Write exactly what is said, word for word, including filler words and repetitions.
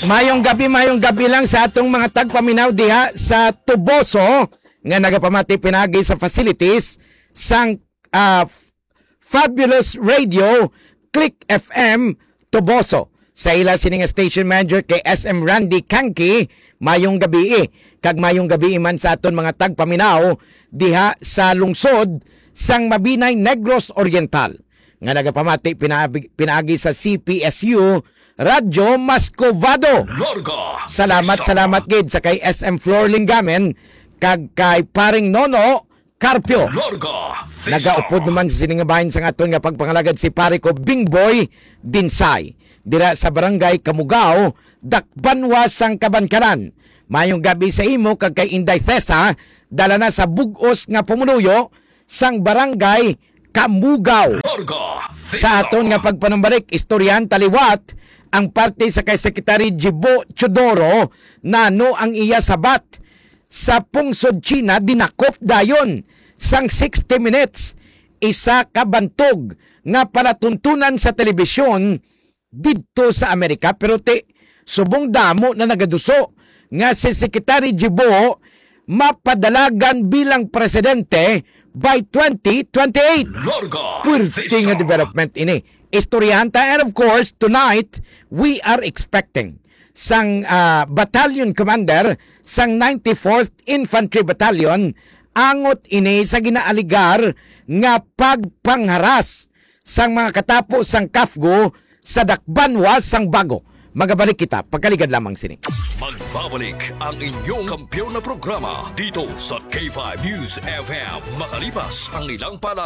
Mayong gabi, mayong gabi lang sa atong mga tagpaminaw diha sa Toboso nga nagapamati pinaagi sa facilities sang, ah, Fabulous Radio, Click F M, Toboso. Sa ila sini nga station manager kay S M Randy Kanki, mayong gabi, eh. Kag mayong gabi man sa aton mga tagpaminaw diha sa lungsod sang Mabinay, Negros Oriental, nga nagapamati pinaagi, pinaagi sa C P S U Radyo Mascovado. Larga Salamat, Vista. salamat gid sa kay S M Flor Lingamen kag kay Paring Nono Carpio. Larga Vista. Nagaupod naman sa sining nga bahin sang aton nga pagpangalagad si pare ko Bingboy Dinsay, dira sa Barangay Kamugao, Dakbanwa sang Kabankaran. Mayong gabi sa imo kag kay Inday Tessa, dala na sa bug-os nga pumuluyo sang Barangay Kamugao. Larga Vista. Sa aton nga pagpanumbalik, istoryahan ta liwat ang parte sa kay Secretary Jibo Teodoro, nano ang iya sabat sa pungsod China, dinakop dayon sang sixty Minutes, isa ka bantog nga palatuntunan sa telebisyon didto sa Amerika. Pero ti, subong damo na nagaduso nga si Secretary Jibo mapadalagan bilang presidente by twenty twenty-eight. Larga Pwerte nga Vista. development ini. Istoryahan ta. And of course, tonight, we are expecting sang, ah, battalion commander sang ninety-fourth Infantry Battalion, angot ini sa ginaaligar nga pagpangharas sang mga katapo sang CAFGU sa Dakbanwa sang Bago. Magabalik kita, pagkaligad lamang sini. Magbabalik ang inyong kampiyon na programa dito sa K five News F M. Makalipas ang ilang paalala.